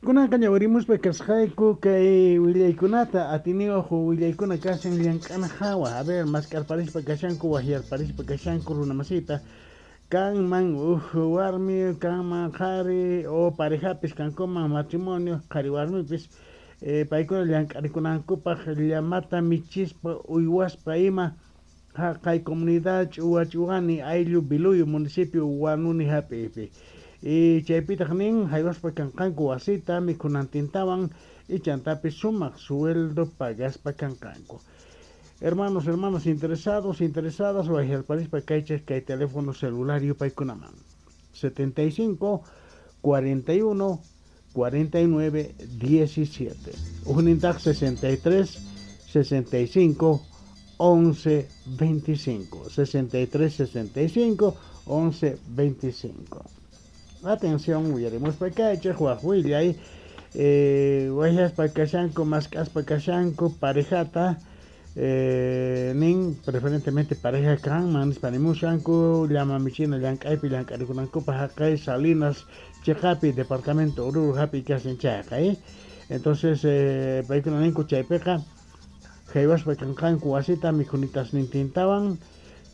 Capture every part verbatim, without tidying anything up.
Kunanqa ñawirimuspa kasqayku kay willaykunata atiniyuq willaykuna kashan llank'ana hawa. A ver, mask'arparispa kashanku, waqyarparispa kashanku runamasita. Kanman uj warmi, kanman qhari o parejapis kankuman matrimonio qhari warmipis eh, paykuna llank'arikunankupaq llamata michispa uywaspa ima haqay comunidad Ch'uwa Ch'uwani ayllu Biluyo municipio Huanuni hap'iypi. Y chaypitaq nin haywaspa kanqanku wasita mikhunantintawan y chantapis sumaq sueldo pagaspa kanqanku. Hermanos, hermanas interesados, interesadas, waqyarparispa kaychej kay teléfono celular yupaykunaman setenta y cinco cuarenta y uno cuarenta y nueve diecisiete. Ujnintaq sesenta y tres sesenta y cinco once veinticinco. sesenta y tres sesenta y cinco once veinticinco. Atención, uyarimuspa kaychej waj willay eh, waqyaspa kashanku mask'aspa kashanku parejata eh, nin preferentemente pareja kanman nispa nimushanku llama michina llank'aypi llank'arikunankupaq haqay Salinas chiqapi departamento Oruro hapi kashan chayqa eh? Entonces eh, paykuna ninku chaypiqa haywaspa kanqanku wasita mikhunitasnintintawan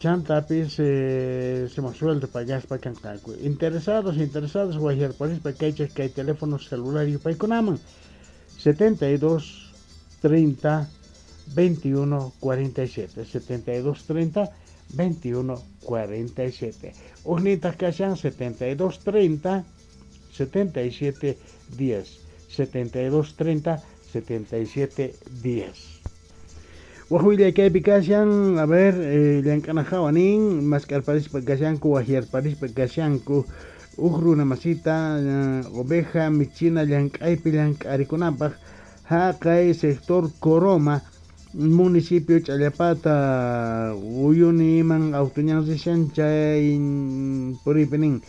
chantapis eh, sumaq sueldo pagaspa kanqanku. Interesados, interesadas, waqyarparispa kaychej kay teléfono celular yupaykunaman setenta y dos treinta veintiuno cuarenta y siete, setenta y dos treinta veintiuno cuarenta y siete. Ujnintaq kashan setenta y dos treinta setenta y siete diez, setenta y dos treinta setenta y siete diez. Waj willay kaypi kashan, a ver, eh, llank'ana hawa nin mask'arparispa kashanku waqyarparispa kashanku uj runa masita uh, oveja michina llank'aypi llank'arikunanpaq haqay sector Coroma municipio Challapata Uyuniman auto ñan rishan chay puriypi nin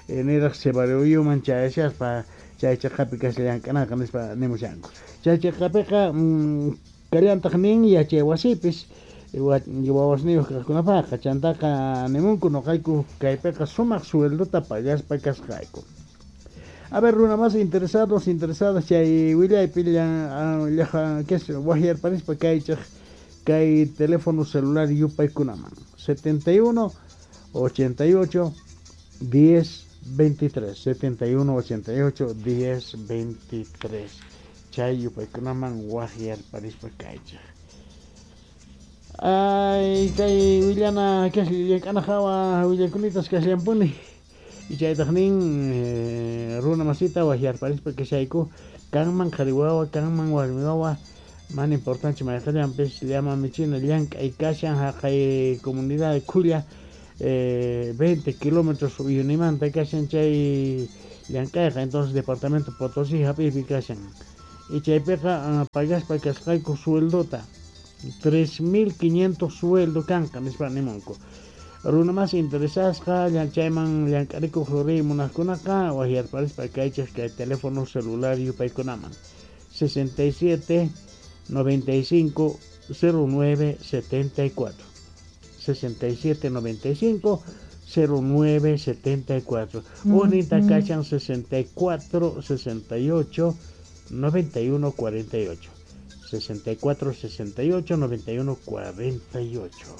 niraq Sevaruyuman chayashaspa chay chaqapi kashan llank'anaqa nispa nimushanku chay chaqapiqa mm, kallantaq nin yachay wasipis wawasniyuq kaqkunapaqqa chantaqa nimunku nuqayku kaypiqa sumaq sueldota pagaspa kasqayku. A ver, runa más interesados, interesadas chay willaypi llaqa waqyarparispa kaychej kay teléfono celular yupaykunaman setenta y uno ochenta y ocho diez veintitrés, setenta y uno ochenta y ocho diez veintitrés chay yupaykunaman waqyarparispa kaychej. Ay, kay willana llank'ana hawa willaykunita kasllampuni y chaytaq nin eh, runa masita waqyarparispa kashayku kanman qhari wawa kanman warmi wawa mana importante mayqillanpis llama michina llank'ay kashan haqay comunidad Khulla eh, veinte kilómetros Uyunimanta kashan chay llank'ayqa entonces departamento Potosí hap'iypi kashan y chaypiqa pagaspa kasqayku sueldota tres mil quinientos sueldo kanqa nispa nimunku. Runa más interesasqa chayman llank'arikuq riy munaqkunaqa waqyarparispa kaychej kay teléfono celular yupaykunaman sesenta y siete noventa y cinco cero nueve setenta y cuatro, sesenta y siete noventa y cinco cero nueve setenta y cuatro. Ujninta kashan sesenta y cuatro sesenta y ocho noventa y uno cuarenta y ocho, sesenta y cuatro sesenta y ocho noventa y uno cuarenta y ocho.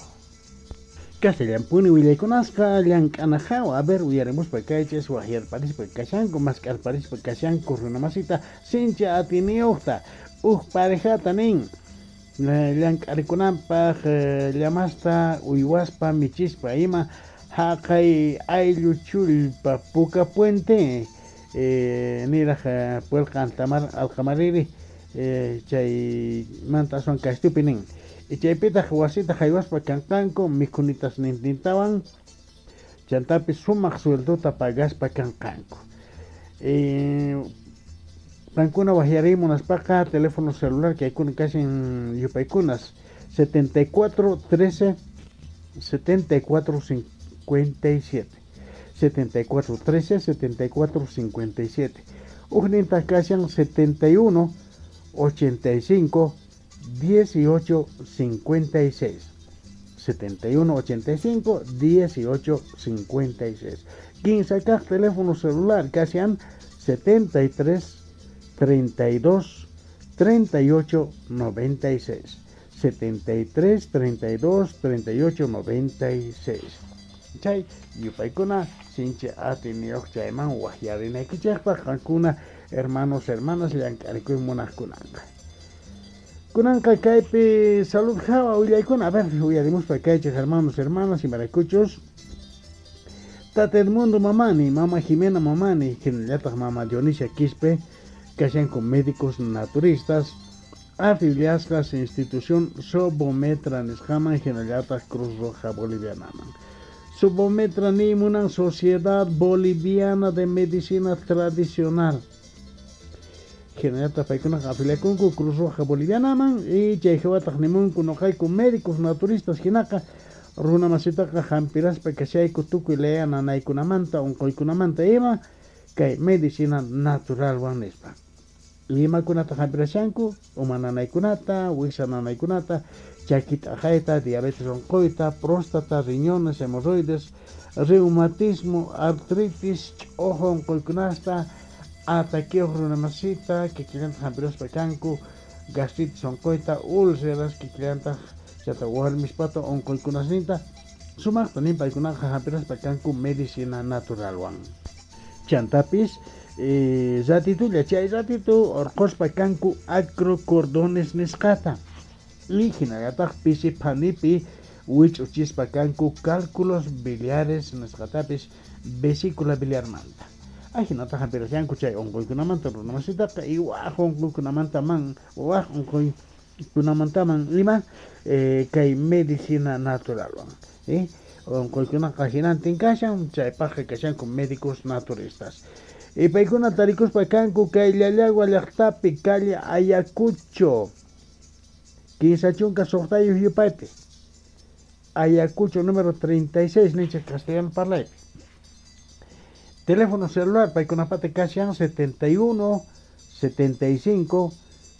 Castellampuni willaykunasqa llank'ana hawa. A ver, uyarimuspa kaychis waqyarparispa kashanku mask'arparispa kashanku runamasita sinchi atiniyuqta uj parejata nin llank'arikunanpaq llamasta uywaspa michispa ima haqay ayllu Chullpa Puka Puente eh, niraq Puelqa Alqamariri eh, chaymanta aswan kashtupi nin y chaypitaq wasita haywaspa kanqanku mikhunitasnintintawan chantapis sumaq sueldota pagaspa kanqanku. Eh, qankuna waqyariy munaspaqa teléfono celular kaykuna kashan yupaykunas setenta y cuatro trece setenta y cuatro cincuenta y siete, setenta y cuatro trece setenta y cuatro cincuenta y siete. Ujnintaq kashan setenta y uno ochenta y cinco dieciocho cincuenta y seis, setenta y uno ochenta y cinco dieciocho cincuenta y seis. Kinsa kaq teléfono celular kashan setenta y tres treinta y dos, treinta y ocho, noventa y seis. setenta y tres, treinta y dos, treinta y ocho, noventa y seis. Chay yupaykuna sinchi atiniyuq chayman waqyarinaykichikpaq qankuna hermanos, hermanas llank'arikuy munaqkunanqa. Kunanqa kaypi salud hawa willaykuna, a ver, uyarimuspa kaychik hermanos, hermanas, imaraykuchus Tata Edmundo Mamani, Mama Jimena Mamani, hinallataq Mama Dionisia Quispe, kashanku médicos naturistas afiliasqas institución Sobometra nisqaman hinallataq Cruz Roja Bolivianaman. Sobometra nimunan Sociedad Boliviana de Medicina Tradicional. Hinallataq paykunaqa afiliakunku Cruz Roja Bolivianaman y chayhawataq nimunku noqayku médicos naturistas hinaqa runa masitaqa hampiraspa kashayku tukuy laya nanaykunamanta unquykunamanta ima kay medicina naturalwan nispa. Imakunata hampirashanku uma nanaykunata, wiksa nanaykunata, chaki t'aqayta, diabetes unquyta, próstata, riñones, hemorroides, reumatismo, artritis, ch'uju unquykunasta, ataqueo runamasita, kikillantaq hampiraspa kanku, gastritis unquyta, úlceras, kikillantaq chata warmispata unquykunasninta, sumaqta nin paykunaqa hampiraspa kanku medicina naturalwan. Chantapis, eh, ratitulla chay ratitu orqospa kanku acrocordones nisqata. Y hinallataq pisi phanipi wich'uchispa kanku cálculos biliares nisqatapis vesícula biliarmanta. Ajinataq hampirashanku chay unquykunamanta runamasitaqa y waj unquykunamantaman waj unquykunamantaman ima eh, kay medicina naturalwan. Eh? Unquykunaqa hinantin kashan chaypaqqa kashanku médicos naturistas. Y paykuna tarikuspa kanku kay Llallagua llaqtapi calle Ayacucho kinsa chunka suqtayuq yupaypi Ayacucho número treinta y seis ninchik castellano parlaypi. Teléfono celular paykunapata kashan setenta y uno, setenta y cinco,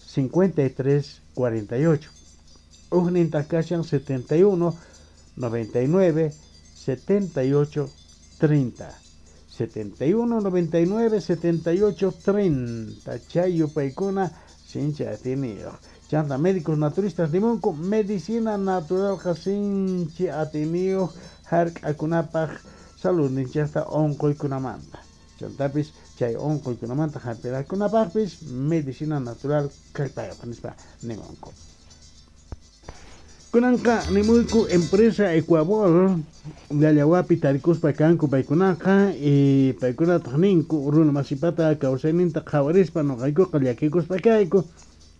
cincuenta y tres, cuarenta y ocho. Ujninta kashan setenta y uno, noventa y nueve, setenta y ocho, treinta. setenta y uno, noventa y nueve, setenta y ocho, treinta. Chay yupaykuna sinchi atiniyuq. Chanta médicos naturistas nimunku medicina naturalqa sinchi atiniyuq hark'akunapaq saludninchikta unquykunamanta. Chantapis chay unquykunamanta hampirakunapaqpis medicina natural kallpayuq nispa nimunku. Kunanqa nimuyku empresa Ecuabol Llallawapi tarikuspa kanku paykunaqa y paykunataq ninku runa masipata kawsayninta qhawarispa noqaykuqa llakikuspa kayku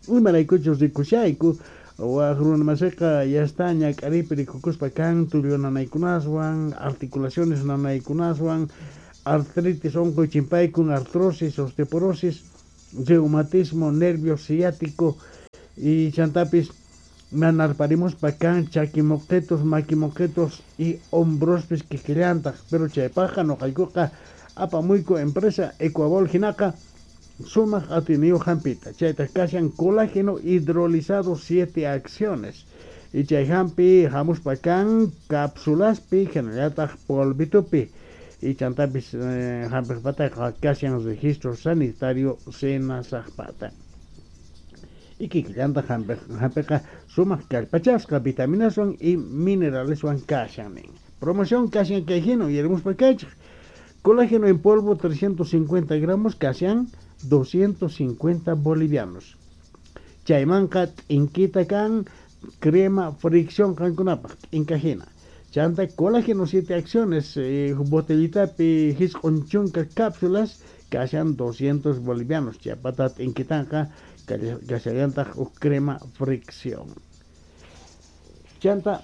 imaraykuchus rikushayku waj runa masiqa ya está ñak'aripi rikukuspa kan tullu nanaykunaswan articulaciones nanaykunaswan artritis unquy chimpaykun artrosis osteoporosis reumatismo nervio ciático y chantapis nanarparimuspa kan chakimoqetos makimoqetos y hombrospis kikillantaq pero chaypaqqa noqaykuqa apamuyku empresa Ecuabol hinaqa sumaq atiniyuq hampita chaytaq kashan colágeno hidrolizado siete acciones y chay hampi hamuspa kan cápsulaspi hinallataq polvitupi y chantapis eh, hampirpataqa kashan registro sanitario senasaqpata. Y kikillantaq hampiqa sumaq kallpachasqa vitaminaswan y mineraleswan kashan nin. Promoción kashan kay hina uyarimuspa kaychik. Colágeno en polvo trescientos cincuenta gramos kashan doscientos cincuenta bolivianos. Chaymanqa t'inkita kan crema fricción qankunapaq t'inkajina. Chanta colágeno siete acciones eh, botellitapi hisq'un chunka cápsulas kashan doscientos bolivianos. Chaypata t'inkitanqa kashallantaq uj crema fricción. Chanta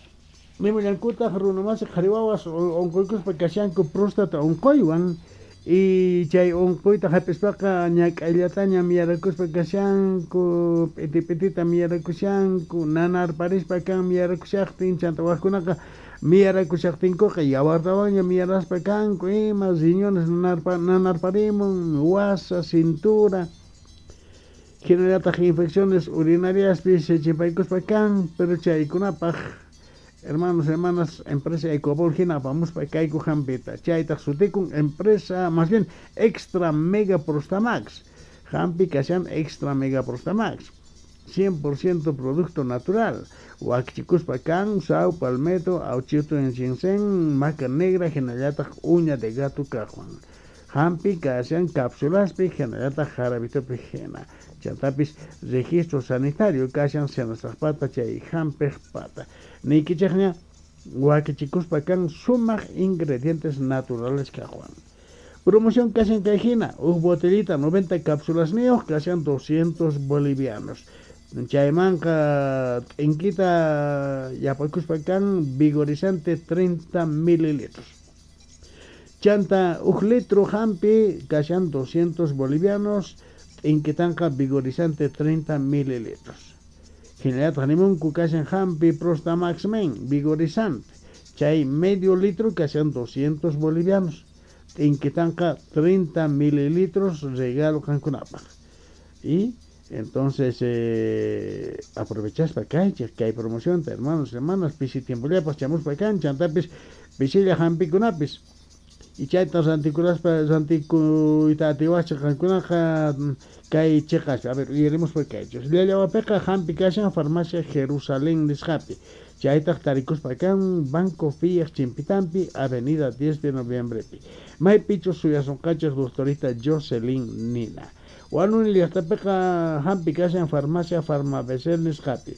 nimullankutaq runamasi qhari wawas unquykuspa kashanku próstata unquywan y chay unquyta hap'ispaqa ñak'ayllataña miyarakuspa kashanku p'iti p'itita miyarakushanku nanarparispa kan miyarakushaqtin chanta wajkunaqa miyarakushaqtinkuqa yawartawanña miyaraspa kanku ima riñones nanarpa, nanarparimun wasa cintura hinallataq infecciones urinariaspis chimpaykuspa kan pero chaykunapaq hermanos, hermanas, empresa Ecuabol hina apamuspa kayku hampita chaytaq sutikun empresa más bien extra mega prostamax Hampi kashan Extra Mega Prostamax, cien por ciento producto natural. Wakichikuspa kan, sao palmetto, auchito en ginseng, maca negra, hinallataq uña de gato kajwan. Hampi kashan cápsulaspi, hinallataq jarabitopi hina. Chantapis registro sanitario kashan senasaqpata chay hampiq pata. Niykichikña wakichikuspa kan sumaq ingredientes naturales kajwan. Promoción kashan kay hina, uj botellita noventa cápsulas niyuq kashan doscientos bolivianos. Chaymanqa t'inkita yapakuspa kan vigorizante treinta mililitros. Chanta uj litro hampi kashan doscientos bolivianos, t'inkitanqa vigorizante treinta mililitros. Hinallataq nimunku kashan hampi Prostamax Men vigorizante, chay medio litro kashan doscientos bolivianos, t'inkitanqa treinta mililitros regalo qankunapaq. Y entonces eh, aprovechaspa kaychik kay promoción, hermanos, hermanas, pisi tiempollapas chamuspa kan, chantapis pisilla hampikunapis. Y chayta rantikuraspa rantikuyta atiwachik qankunaqa kay chiqaspi. A ver, uyaremos por kaychik. Llallawapiqa hampi kashan farmacia Jerusalén nisqapi. Chaytaq tarikuspa kan Banco Fiat Chimpitampi, Avenida diez de Noviembrepi. Maypichu suyasunqachik doctorita Jocelyn Nina. Huanuni llaqtapiqa hampi kashan farmacia Farmabecel nisqapi,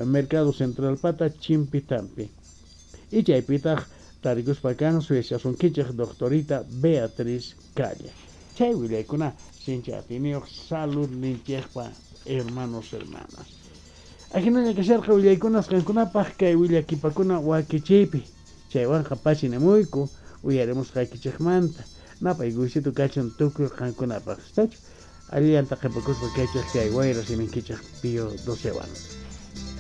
Mercado Central pata Chimpitampi. Y chaypitaq tarikuspa kan suyasunkichik doctorita Beatriz Calle. Chay willaykuna sincha atiniyuq salud ninchikpa, hermanos, hermanas. Ajinalla kasharqa willaykunas qankunapaq kay willakipakuna wakichiypi. Chaywanqa pasinamuyku uyarimusqaykichikmanta. Napay gusito kachun tukuy qankunapaq. ¿Estachu? Allillanta qhipakuspa kaychik kay wayra siminkichik Pío docewan.